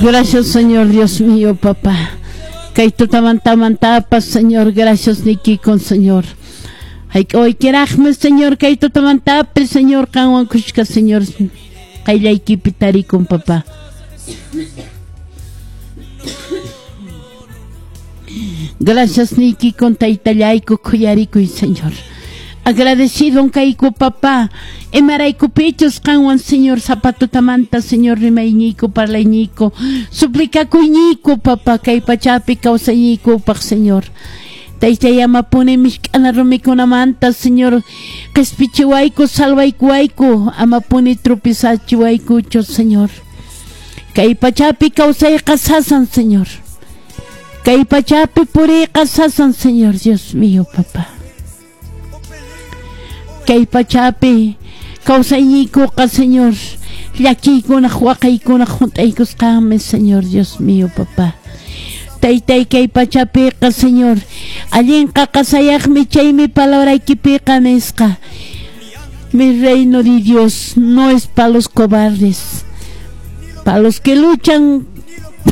Gracias, Señor Dios mío, papá. Kay tutamantamantapas, Señor, gracias niykikun, Señor. Hayk'awaykiraqmi, Señor, kay tutamantapi, Señor, qanwan kushka, Señor, qayllaykipi tarikun, papá. Gracias niykikun, taytallayku, khuyarikuy, Señor. Agradecido kayku, papá. Imaraykupichus qanwan, Señor, zapatutamanta, Señor, rimayñiyku, parlayñiyku, suplicakuyñiyku, papá, kay pachapi kawsayñiykupaq, Señor. Taytay amapuni misk'ana rumikunamanta, Señor, qispichiwayku, salvaykuwayku, amapuni tropizachiwaykuchu, Señor. Kay pachapi kawsayqa sasan, Señor. Kay pachapi puriyqa sasan, Señor, Dios mío, papá. Kay pachapi kawsayñiykuqa, Señor, llakiykunaq waqaykunaq hunt'aykusqanmi, Señor, Dios mío, papá. Taytay kay pachapiqa, Señor, allinqa qasayaqmi chaymi palabraykipiqa nisqa. Mi reino de Dios no es para los cobardes, para los que luchan